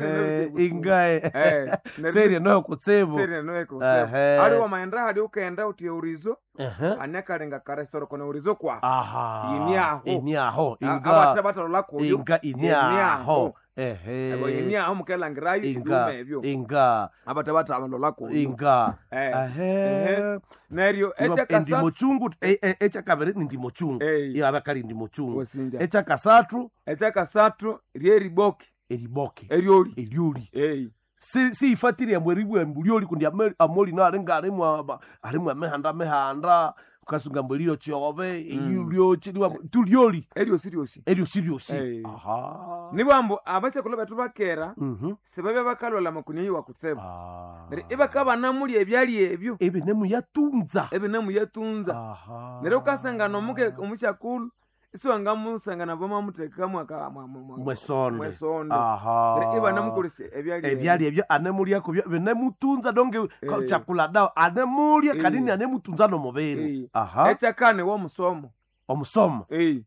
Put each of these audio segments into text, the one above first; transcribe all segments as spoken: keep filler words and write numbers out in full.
Eh, ingae Eh, neryo- serie noyo kutsibu Seri noyo kutsibu. Ehe. Ali wamaenda hali ukaenda uti eurizo Ehe. anekalinga karesoro kona urizo kwa aha Ini aho. ini aho inga abatha batalola kuyo inga ini aho ehe Ebo ini aho mukelangirayo inga ebyuma ebyo inga abatha batalola kuyo inga Eh. ehe Ehe. Neryo Niba- ekyakasathu endimo chungu e- e- ekyakabiri ni ndimo chungu Eh. iyo abakali ndimo chungu Wesinja. ekyakasathu Ekyakasathu lyeriboke eriboke eryoli eryoli Eh. si siyifatire ambu eribwa lyoli kundi ame- amoli no alinga alimu aba- alimu amihanda mihanda ukasunga mbu eriyo kyobe eryolyoki tulyoli eryosi ryosi eryosi ryosi Eh. aha nibwambu abasekulu bethu bakera Mhm. sibabya bakalwala makuni eyi wakutsibu Ah. neryo ibakabanamulya ebyalya ebyo ebinemuyatunza ebinemuyatunza Aha. neryo ukasangana omuke omusyakulu isiwangamusangana bamamuthekamu aka- mwa- mwa- mwa- mwesonde mwesonde aha Neryo ibanamukolesya ebyalya ebyalya ebyo anemulyako byo binemutunza donge Eh. chakula dawo anemulya Eh. kanini anemutunza nomubiri Eh. aha ekyakane womusomo omusoma Eh,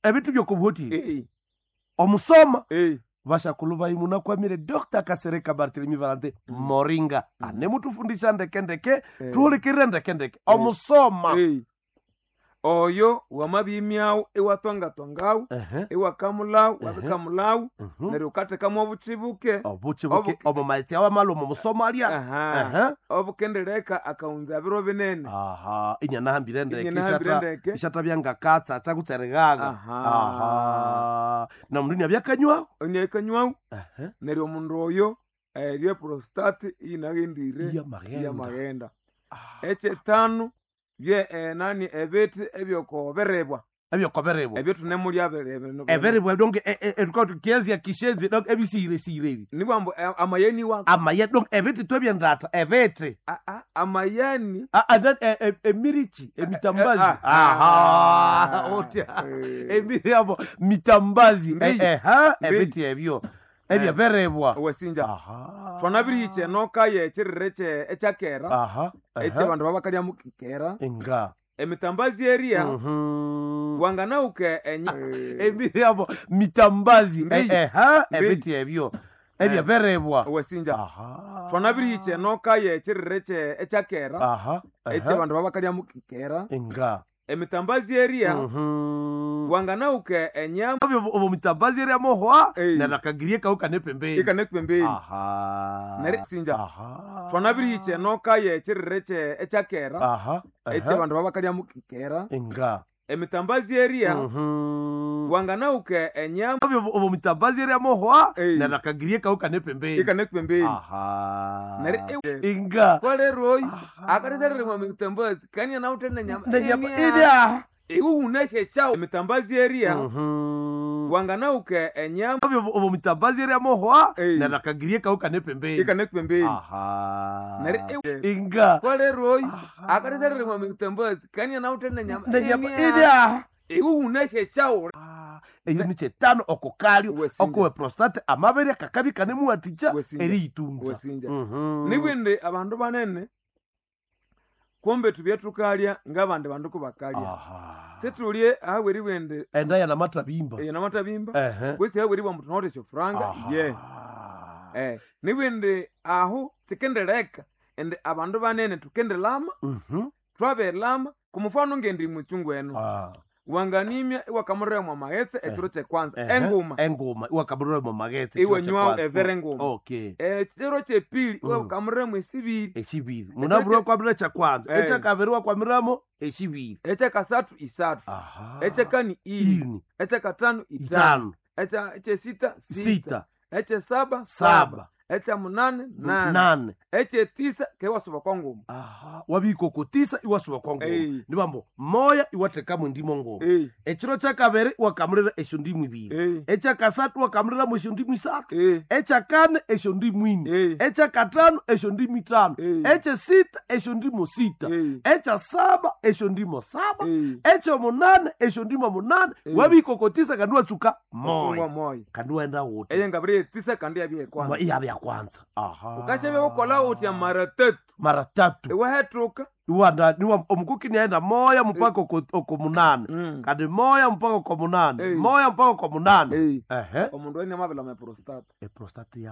ebintu byokubuhotire eh, omusoma eh. vashakulu vaimu nakwamire dr kasereka barthelemy valante moringa anemutufundisha ndekendeke Eh. tuhulikirire ndekendeke omusoma Eh. oyo wamabimyawu iwatongatongawu Ehe, iwakamulawu Ehe. wabikamulawu mhm. neryo ukathekamu obuchibuke obuki buke Obuki- omu maghetse awo amala omu musoma alya Aha. Ehe. obukendeleka akaunza biro binene aha inyanahambire ndeke Inyanahambire ishata- ndeke. ishata byangakatsatsa kutserighaga Aha. aha na mundu inyabyakanywaho onyekanywawu Ehe. neryo omundu oyo eryo prostate inaghendire Iyamaghenda. iyamaghenda ekyetanu bye eh, nani ebithi ebyokoberebwa ebyokoberebwa ebyo tunemulya bere- eberebwa donge etukauti kishenzi donge ebisiiresire ebi nibwambu eh, amayeni wa amaye donge ebiti twebyendata ebiti Ah, ah, amayani Ah, ah, na- e- e- emirichi emitambazi Eh, ah, aha ah, otya eh. emiri abo mitambazi Mbi. Eh, eh, ha Mbi. ebiti ebyo ebyeberebwa wesinja aha twanabirihicha enoka yekyirire kye- ekyakera aha aha. ekyabandu babakalyamu kera inga emitambazi eria Mhm. wanganauke enya emiri abo mitambazi Mbi. Eh, eh, ha Mbi. ebiti ebyo ebyeberebwa wesinja aha twanabirihicha enoka yekyirire kye- ekyakera aha aha. ekyabandu babakalyamu kera inga emitambazi eria Mhm. wanganauke enyama obo mitambazi eria mohwa Eh. nanakagirie kau kane pembeni ikane pembeni aha Neri- sinja. aha twanabirihicha enoka yekyirire kye- ekyakera aha aha. ekyabandu babakalyamu kera inga emitambazi eria Mhm. wanganauke enyama obo mitambazi eria mohwa Eh. nanakagirie kau kane pembeni ikane pembeni aha Neri- inga kwaleroyi akatitsalire mitambazi kanya naute nenyama nenyama idia iwuhuneshe chawo emitambazi eria Mhm. wanganauke enyama obo mitambazi eria mohwa Eh. nanakagirie kau kane pembeni ikane pembeni aha Neri- inga kwaleroyi akatitsalire mitambazi kanya naute nenyama nenyama idia iwuhuneshe chawo eyo ni kyetano okukalyo Wesinja. okuwe prostate amabere akakabi kanemuwathikya Wesinja. eriyitunza Wesinja. Mhm. nibwindi abandu banene kumbe tubye tukalya ngabandi bandu kubakalya aha situlye ahaweribwende enda yanamathabimba eyo namatabimba ehe kwesi haweribwa mbu tunawithe esyofuranga Aha. ye Eh, nibwindi ahu tsikendeleka ende abandu banene tukendelama Mhm. twabelama kumufano ngendi muchungu eno Ah. wanganimya iwakamuremwa maghetse ekiro kyekwanza Ehe. enguma enguma iwakamuremo maghetse Iwe ekiro nywawo kyekwanza. evere enguma. okay ekiro kyepili Mm. iwakamuremwa esibiri esibiri munaburi wakwamira ekyakwanza Eh. ekyakabiri wakwamiramo esibiri ekyakasathu isathu aha ekyakani ini ini ekyakatano itano itano Ekya- ekyesita sita sita ekyesaba saba saba ekyamunane nane nane ekyetisa kewasuba kwa nguma aha wabikokotisa iwasuba kwa ngoma Ei. nibambo moya iwathekamo endimo ngoma Ei, ekiro kyakabiri iwakamulira esyo ndimu ibiri ei, ekyakasathu iwakamuliramo esyo ndimu isathu ei, ekyakane esyo ndimu ini ei, ekyakatano esyo ndimu itano Ei. ekyesita esyo ndimu sita ei, ekyasaba esyo ndimu saba ei. ekyomunane esyo ndimu munane Ei. wabikokotisa kandi watsuka Ngwa moya moya kandi waenda wuthi eye ngabiri yetisa kandi yabye kwanza iyabya kwanza aha ukashabe ukola utya mara tatu mara tatu iwahetruka iwanda niwa omukuki niaenda moya mpaka oko- oko munane Mm. kandi moya mpaka oko munane Ei. moya mpaka oko munane Ei. ehe omundu ene amabela me prostate eprostate ya